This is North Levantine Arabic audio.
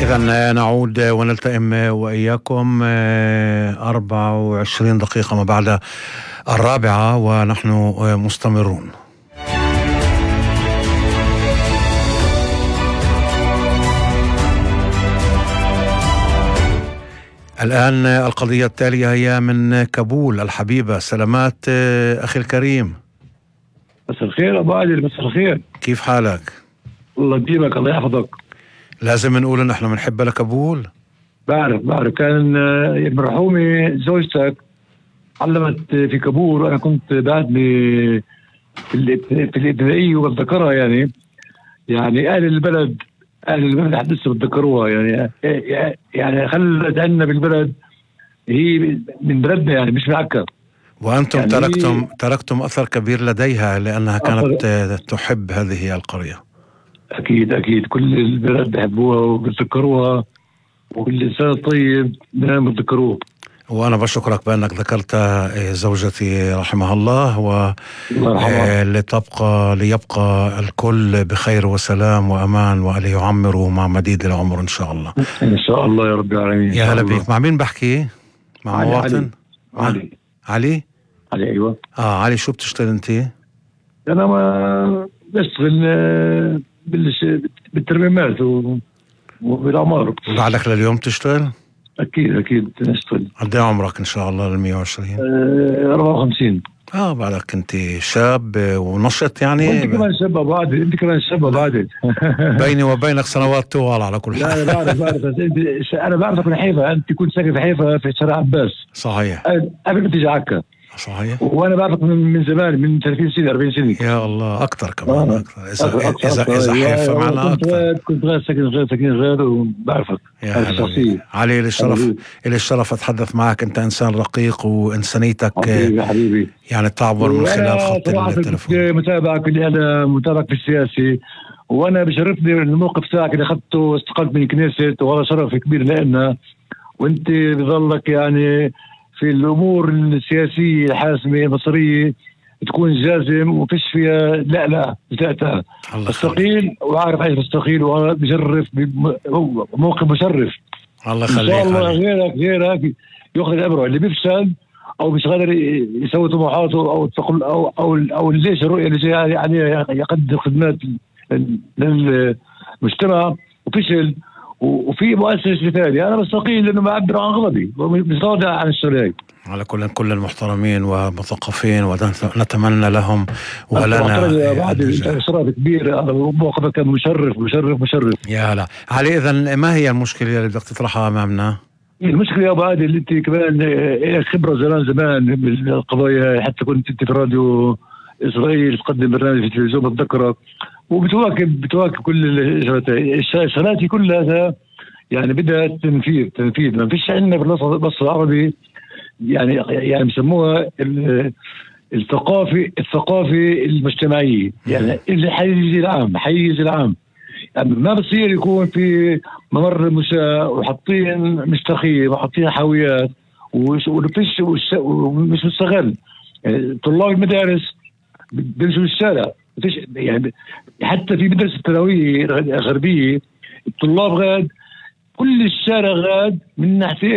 إذن نعود ونلتئم وإياكم 24 دقيقة ما بعد 4 ونحن مستمرون. الآن القضية التالية هي من كابول الحبيبة. سلامات أخي الكريم. مساء الخير أبو عادل. مساء الخير، كيف حالك؟ الله يديمك، الله يحفظك. لازم نقول إن احنا بنحب لكابول. بعرف كان المرحومة زوجتك علمت في كابول، وأنا كنت بعدني في الابتدائية وبتذكرها. يعني أهل البلد حدث بتذكروها. يعني خلت عنا بالبلد، هي من بلدنا، يعني مش من عكا. وأنتم يعني تركتم أثر كبير لديها لأنها كانت تحب هذه القرية. أكيد كل البلد بحبوها وبتذكروها، وكل إنسان الطيب دائما بتذكروه. وأنا بشكرك بأنك ذكرت زوجتي رحمها الله، ليبقى الكل بخير وسلام وأمان، وليعمروا مع مديد العمر إن شاء الله. إن شاء الله يا رب العالمين. يا هلا بيك. مع مين بحكي؟ مع مواطن؟ علي. أيوة. علي، شو بتشتغل أنت؟ أنا ما بشتغل بالترميمات وبالعمار. بعدك لليوم تشتغل؟ أكيد نشتغل. قد ايه عمرك إن شاء الله؟ 120. 54. بعدك أنت شاب ونشط يعني. أنت كمان شاب بعد. بيني وبينك سنوات طوال على كل حال. لا بعرف أنا بعرفك من حيفا. أنت كنت ساكن في حيفا في شارع عباس. صحيح. قبل ما تيجي عكا. صحيح. وانا بعرفك من زمان، من 30 سنه 40 سنه. يا الله، اكثر كمان. اذا حيفا معنا اكثر. كنت غير ساكن غير وبعرفك. علي، لي الشرف اتحدث معك. انت انسان رقيق وانسانيتك حبيبي يعني تعبر من خلال خط التلفون. متابعك في السياسي، وانا بشرفني الموقف تاعك اللي اخذته، استقلت من الكنيسة، وهذا شرف كبير لنا. وانت بظلك يعني في الأمور السياسية الحاسمة المصرية تكون جازم وفيش فيها لا بتاعتها. استقيل، وعارف ايش بستقيل، وانا بشرف موقف مشرف. الله يخليك. ان شاء الله غيرك ياخذ الابره اللي بيفشل او مش قادر يسوي طموحاته او ليش الرؤيه اللي جايه عليه يقدم خدمات للمجتمع وفشل، وفي مؤسسة ثانية. أنا بستقيل لأنه بعبر عن غضبي ومش راضي عن الشرعي. على كل المحترمين ومثقفين ونتمنى لهم ولنا بعد شرف كبير. أنا موقفك كان مشرف. يا هلا علي. إذن ما هي المشكلة اللي بدك تطرحها أمامنا؟ المشكلة يا أبو عادل اللي أنت كمان خبرة زمان بالقضايا، حتى كنت أنت في راديو إسرائيل تقدم برنامج في التلفزيون بتذكرك، وبتواكب كل الشغلات كلها. يعني بدها تنفيذ. ما فيش عندنا في الوسط العربي يعني بسموها الثقافة المجتمعية. يعني حيز العام. يعني ما بصير يكون في ممر مشاة وحاطين مشتخية وحاطين حاويات ومش مستغل. يعني طلاب المدارس بيمشوا بالشارع. يعني حتى في مدرسة الثانوية الغربية الطلاب غاد، كل الشارع غاد من ناحية